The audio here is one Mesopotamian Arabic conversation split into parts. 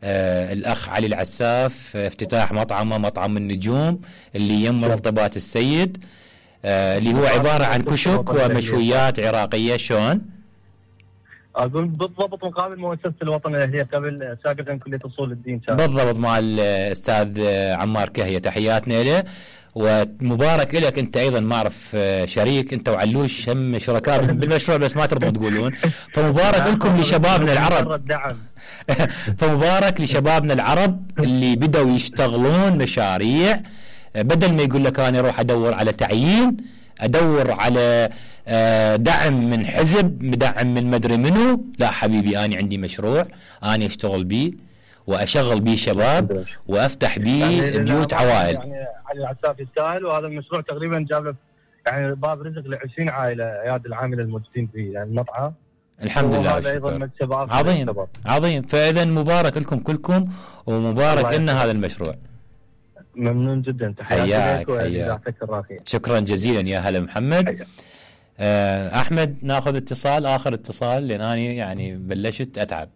الأخ علي العساف افتتاح مطعمه مطعم النجوم اللي يم مرتبات السيد، اللي هو عبارة عن كشك ومشويات عراقية. شلون؟ أقول بالضبط مقابل مؤسسة الوطن اللي هي قبل ساقطا كلية أصول الدين. بالضبط مع الأستاذ عمار كهية، تحياتنا له ومبارك لك. أنت أيضا ما أعرف شريك أنت وعلوش هم شركاء بالمشروع بس ما ترضون تقولون، فمبارك لكم لشبابنا العرب. فمبارك لشبابنا العرب اللي بدأوا يشتغلون مشاريع، بدل ما يقول لك أنا أروح أدور على تعيين، أدور على دعم من حزب، دعم من مدري منو. لا حبيبي، أنا عندي مشروع أنا أشتغل بيه وأشغل بيه شباب وأفتح بيه يعني بيوت عوائل. يعني علي العساف يستاهل، وهذا المشروع تقريبا جاب له يعني باب رزق ل20 عائلة عياد العاملة الموجودين في يعني المطعم. الحمد لله. وهذا أيضا مكسب عظيم عظيم. فإذا مبارك لكم كلكم، ومبارك لنا هذا المشروع. ممنون جدا، تحياتي لك. شكرا جزيلا يا هلا محمد. أحمد ناخذ اتصال، آخر اتصال، لأن أنا يعني بلشت أتعب،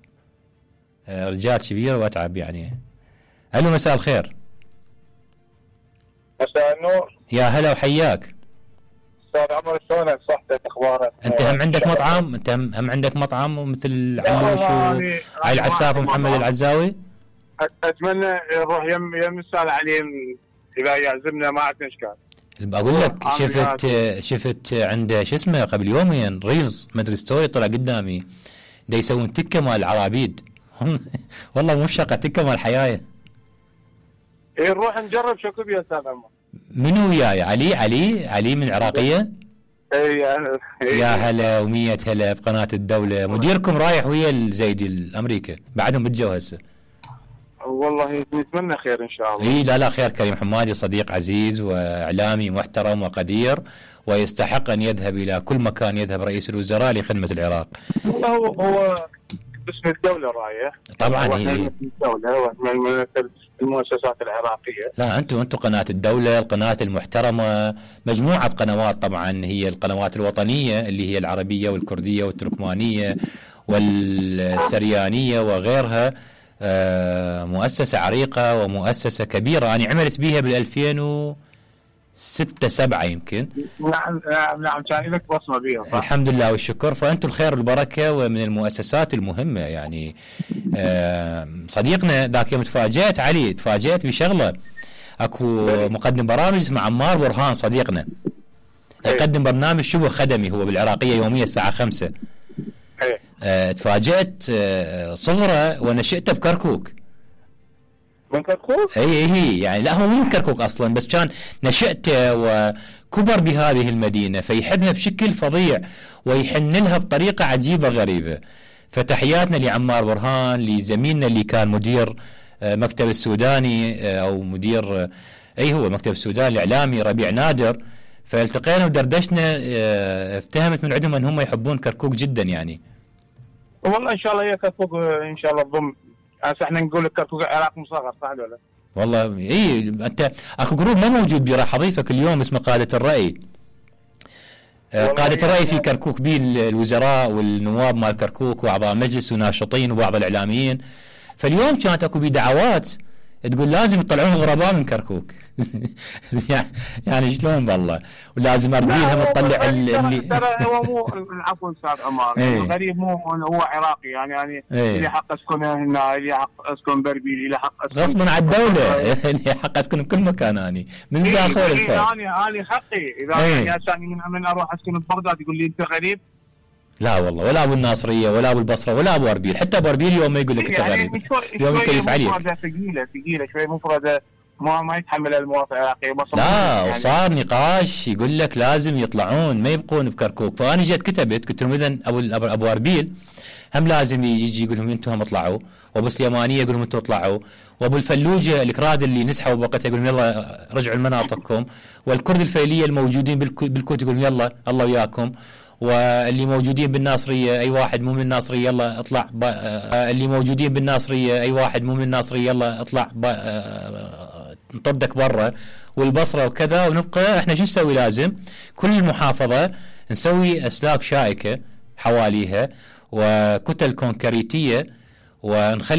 رجال كبير وأتعب يعني. ألو مساء الخير. مساء النور. يا هلا وحياك. أستاذ عمر شلونك؟ صحتك أخبارك؟ أنت هم عندك مطعم؟ أنت هم عندك مطعم مثل علوش وعلي العساف ومحمد العزاوي؟ أتمنى نروح يم الأستاذ عليم إذا يعزمنا، ما عندنا إشكال. بقول لك شفت عنده شو اسمه قبل يومين ريلز مدري ستوري طلع قدامي دا يسوون تكه مال العرابيد. والله مو شقه، تكه مال حيايه. إيه نروح نجرب شكو يا أستاذ عمر. منو وياي؟ علي من العراقيه. يا هلا ومية هلا بقناه الدوله. مديركم رايح ويا الزيدي الامريكا بعدهم بتجوا هسه. والله نتمنى خير ان شاء الله. اي لا خير. كريم حمادي صديق عزيز واعلامي محترم وقدير، ويستحق ان يذهب الى كل مكان يذهب رئيس الوزراء لخدمه العراق. هو باسم الدوله رايح طبعا. هي الدوله من المؤسسات العراقيه. لا انتم قناه الدوله، القناه المحترمه، مجموعه قنوات طبعا، هي القنوات الوطنيه اللي هي العربيه والكرديه والتركمانيه والسريانيه وغيرها. مؤسسة عريقة ومؤسسة كبيرة. أنا عملت بيها بال2006-7 يمكن. نعم كان لك بصمة بيها. الحمد لله والشكر. فأنتم الخير والبركة، ومن المؤسسات المهمة يعني. صديقنا ذاك يوم تفاجأت بشغلة. أكو مقدم برامج اسمه عمار برهان صديقنا، يقدم برنامج شبه خدمي هو بالعراقية يوميا الساعة 5. تفاجأت صغره ونشأته بكركوك. من كركوك؟ اي يعني لا هو مو من كركوك اصلا، بس كان نشأته وكبر بهذه المدينة، فيحبها بشكل فظيع ويحن لها بطريقة عجيبة غريبة. فتحياتنا لعمار برهان، لزميلنا اللي كان مدير مكتب السوداني او مدير هو مكتب السوداني الاعلامي ربيع نادر. فالتقينا ودردشنا، افتهمت من عندهم ان هم يحبون كركوك جدا يعني. والله ان شاء الله هي كركوك ان شاء الله تضم. هسه احنا نقول لك كركوك العراق مصغر، صح ولا لا؟ والله انت اكو جروب ما موجود بيه، راح اضيفك اليوم اسمه قادة الرأي. قادة الرأي في كركوك بيه الوزراء والنواب مال كركوك واعضاء مجلس وناشطين وبعض الاعلاميين. فاليوم كانت اكو بيه دعوات تقول لازم يطلعون الغرباء من كركوك. يعني شلون بالله، ولازم اربيلهم تطلع اللي ترى هو مو عفوا استاذ عمار. الغريب مو هو عراقي يعني لي حق اسكن هنا، لي حق اسكن بربيل، لي حق اسكن غصبا على الدوله. لي حق اسكن بكل مكان. اني من زاخور الفرق اني حقي اذا ثاني من اروح اسكن ببغداد يقول لي انت غريب. لا والله، ولا ابو الناصريه ولا ابو البصره ولا ابو اربيل. حتى ابو اربيل يوم ما يقول لك انت غريب، يوم يكيف عليك. ثقيله شوي مفرده، ما يتحمل المواطن العراقي. لا يعني. وصار نقاش يقول لك لازم يطلعون ما يبقون بكركوك. فانا جيت كتبت قلت لهم اذا ابو اربيل هم لازم يجي يقول لهم انتم هم اطلعوا، وابو سليمانيه يقول لهم انتم اطلعوا، وابو الفلوجه الكراد اللي نسحبوا بوقتها يقول لهم يلا رجعوا لمناطقكم، والكرد الفيليه الموجودين بالكوت يقول لهم يلا الله وياكم، واللي موجودين بالناصريه اي واحد مو من الناصريه يلا اطلع اللي موجودين بالناصريه اي واحد مو من الناصريه يلا اطلع نطردك برا، والبصره وكذا. ونبقى احنا شو نسوي؟ لازم كل المحافظه نسوي اسلاك شائكه حواليها وكتل كونكريتيه ونخلي